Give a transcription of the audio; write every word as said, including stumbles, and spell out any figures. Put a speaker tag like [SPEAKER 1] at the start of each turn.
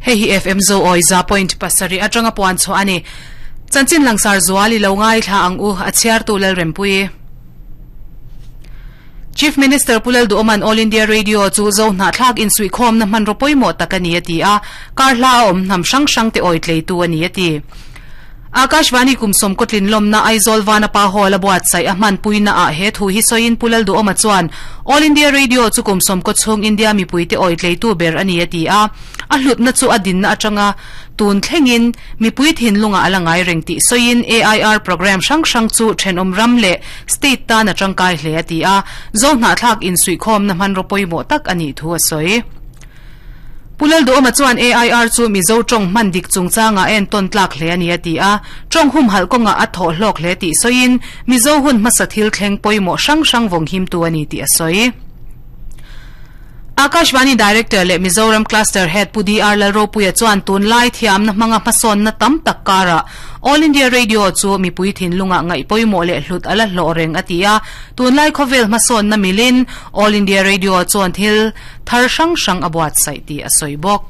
[SPEAKER 1] Hei hi F M zo oi za point pasari atanga puan chu ani. Chanchin langsar zuali lo ngai thla ang u a chiar tu lal rempui. Chief Minister Pulal Duoman All India Radio chu zo na thlak in sui khom na man ropoi mo takani ati a kar hla om nam sang sang te oi tlei tu ani ati. Akashvani kumsom kotlin lom na Aizol vana pa hola buat sai ahman puina a he thu hi soin Pulal Duoma chuan All India Radio chu kumsom ko chung India mi puite oi tlei tu ber ani ati a a hlut na chu adin na atanga tun thlengin mi pui thin lunga alangai reng ti soin A I R program sang sang chu thenom ram le state ta na tangkai hle ati a zo na thlak in sui khom na man ropoi mo tak ani thu a soi. Pulal Duoma chuan A I R chu mizo tong man dik chungchanga en ton tlak hle ani ati a tong hum hal konga a tho hlok hle ti soin mizo hun masathil thleng poimo sang sang vong him tu ani ti a soi. Akashvani Director le Mizoram Cluster Head Pu D R Lalropuia chuan tun lai thiam na hmanga hmasawn na tam tak kara All India Radio chu mipui thin lunga ngai poimo le hlut ala hlo reng atia tun lai khovel hmasawn na milin All India Radio chuan thil thar sang sang abuat sai ti a soi bawk.